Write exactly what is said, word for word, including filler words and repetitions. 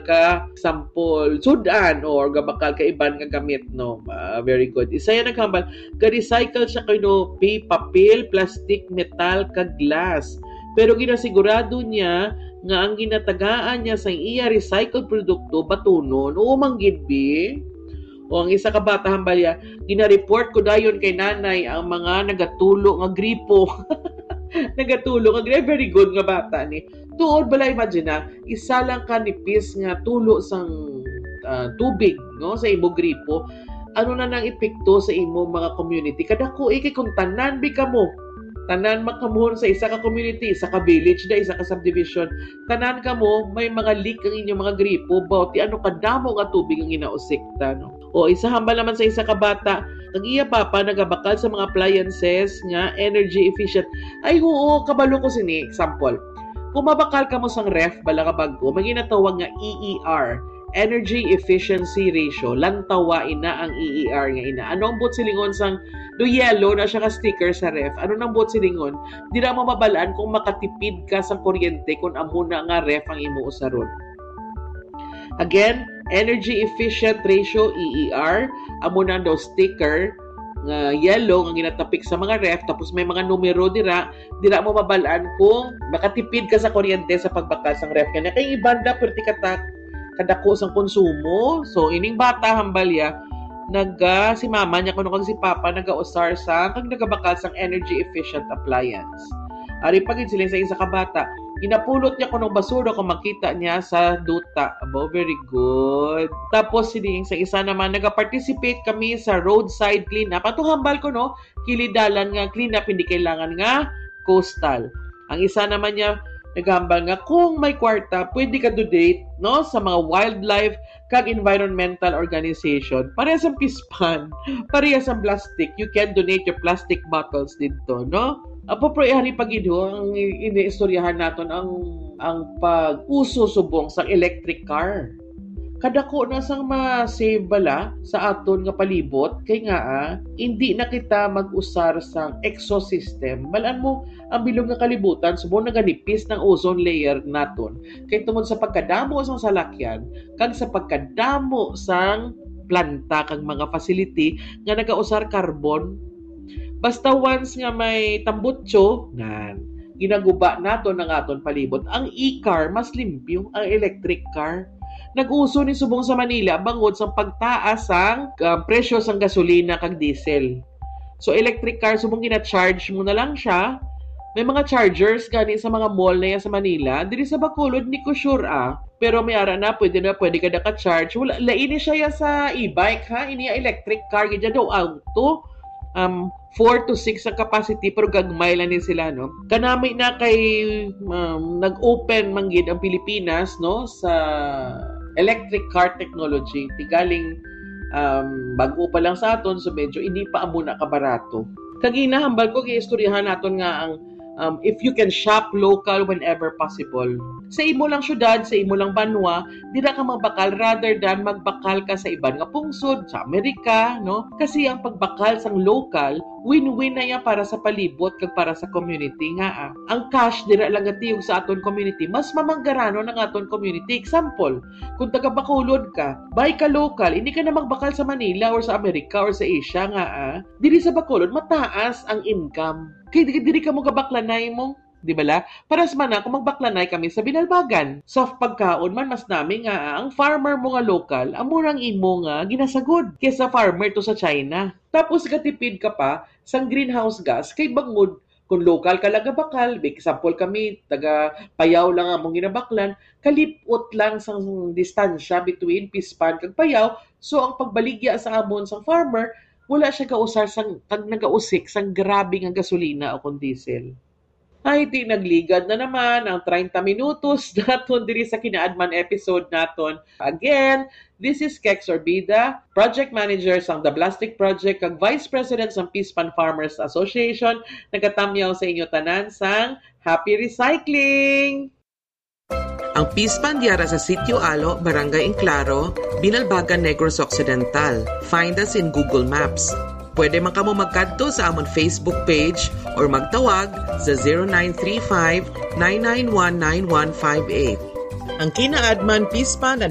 ka, example, sudan or gabakal ka iban nga gamit, no? Ah, very good. Isa yan naghambal, ga-recycle siya kuno, pi-, papel, plastic, metal, kag glass. Pero ginasigurado niya nga ang ginatagaan niya sa iya recycled produkto, batunon. Oo, manggid, bi. O ang isa ka bata, hambalya, gina-report ko dayon kay nanay ang mga nagatulo nga gripo. Nagatulo nga gripo. Very good nga bata ni. Tuod bala, imagine na, isa lang ka nipis nga tulo sang, ah, tubig, no, sa imo gripo. Ano na nang epekto sa imo mga community? Kadako, eh, kay kung tanan bi kamo, tanan makamon sa isa ka community, isa ka village na, isa ka subdivision, tanan kamo may mga leak ang inyong mga gripo, baw ti ano kadamo nga tubig ang ginausikta, no? O isa hambal naman sa isa ka bata, ang iya papa nagabakal sa mga appliances nga energy efficient. Ay, oo, kabalo ko sini. Example, kung mabakal kamo sang ref, bala ka bag-o, may ginatawag nga E E R, energy efficiency ratio. Lantawa ina ang E E R nga ina. Ano ang buot silingon sang do yellow na siya ka sticker sa ref? Ano nang buot silingon? Dira mo mabalaan kung makatipid ka sa kuryente kung amo na nga ref ang imo usaron. Again, energy efficient ratio, E E R, amo na daw sticker nga yellow nga ginatapik sa mga ref, tapos may mga numero dira, dira mo mabalaan kung makatipid ka sa kuryente sa pagbakal sang ref. Kanya kay ibanda, perti ka ta-, kadako sang konsumo. So, ining bata, hambalya, naga, si mama niya kuno kag si papa nagausar sa, kag nagabakal sang energy efficient appliance. Ari pa gid siling sa isa ka bata, ginapulot niya kuno basura kung makita niya sa duta. Abo, very good. Tapos siling sa isa naman, nagaparticipate kami sa roadside cleanup. Ato hambal ko, no, kilid dalan nga cleanup, hindi kailangan nga coastal. Ang isa naman niya, naghambal nga kung may kwarta, pwede ka donate, no, sa mga wildlife kag environmental organization. Pareha sa Pispan, pareha sa plastic, you can donate your plastic bottles didto, no? Apo, pero ihari pa gid ho ang iniistoryahan naton ang, ang pag-uso subong sa electric car. Kadako na sang ma-save bala sa aton nga palibot, kay nga, ah, hindi na kita mag-usar sang exhaust system. Malan mo, ang bilog nga kalibutan, subong naganipis ng ozone layer naton. Kay tungod sa pagkadamo sang salakyan, kag sa pagkadamo sang planta kag mga facility nga nagausar carbon, basta once nga may tambutso, nan, ginaguba naton ang aton palibot. Ang e-car, mas limpyo, ang electric car. Nag-uso ni subong sa Manila bangod sa pagtaas sang, ah, presyo sang gasolina kag diesel. So, electric car, subong gina-charge mo na lang siya. May mga chargers gani sa mga mall na yan sa Manila. Diri sa Bacolod, di ko sure, ah. Pero may ara na, pwede na, pwede ka naka-charge. Wala, lain ni siya ya sa e-bike, ha? Ini ya electric car, gid ya daw auto. Um, four to six ang capacity, pero gagmay lang ni sila, no? Kanami na kay, um, nag-open man gid ang Pilipinas, no, sa electric car technology. Tigaling, um, bag-o pa lang sa aton, so medyo hindi pa amo na kabarato. Kag ginahambal ko, giistoryahan naton nga ang, um, if you can shop local whenever possible. Sa imo lang syudad, sa imo lang banwa, dira ka magbakal rather than magbakal ka sa iban nga pungsod, sa Amerika, no? Kasi ang pagbakal sang local, win-win na yan para sa palibot kag para sa community nga, ah, ang cash dira lang gatiyog sa aton community, mas mamanggaranon ang aton community. Example, kung taga Bacolod ka, buy ka local, hindi ka na magbakal sa Manila or sa Amerika or sa Asia nga, ah, diri sa Bacolod, mataas ang income. Kay di, diri ka mo gabaklanay mo, di bala? Paras man na kung magbaklanay kami sa Binalbagan. Sa pagkaon man, mas nami nga, ah, ang farmer mo nga local, amo nang imo nga ginasagod kaysa farmer to sa China. Tapos gatipid ka pa sang greenhouse gas kay bangod kung local ka lang gabakal, example kami, taga Payao lang among ginabaklan, kalipot lang sang distansya between Pispan kag Payao, so ang pagbaligya sa amon sang farmer, wala siya gausar sang, kag nagausik sang grabe nga gasolina o kon diesel. Ay, di nagligad na naman ang treinta minutos naton diri sa Kinaadman episode naton. Again, this is Kex Orbida, Project Manager sang The Plastic Project kag Vice President sang Pispan Farmers Association. Nagatamyaw sa inyo tanan sang Happy Recycling! Ang Pispan diara sa Sitio Alo, Barangay Enclaro, Binalbagan, Negros Occidental. Find us in Google Maps. Pwede man kamo magkadto sa amon Facebook page or magtawag sa zero nine three five, nine nine one, nine one five eight. Ang Kinaadman Peace Fund and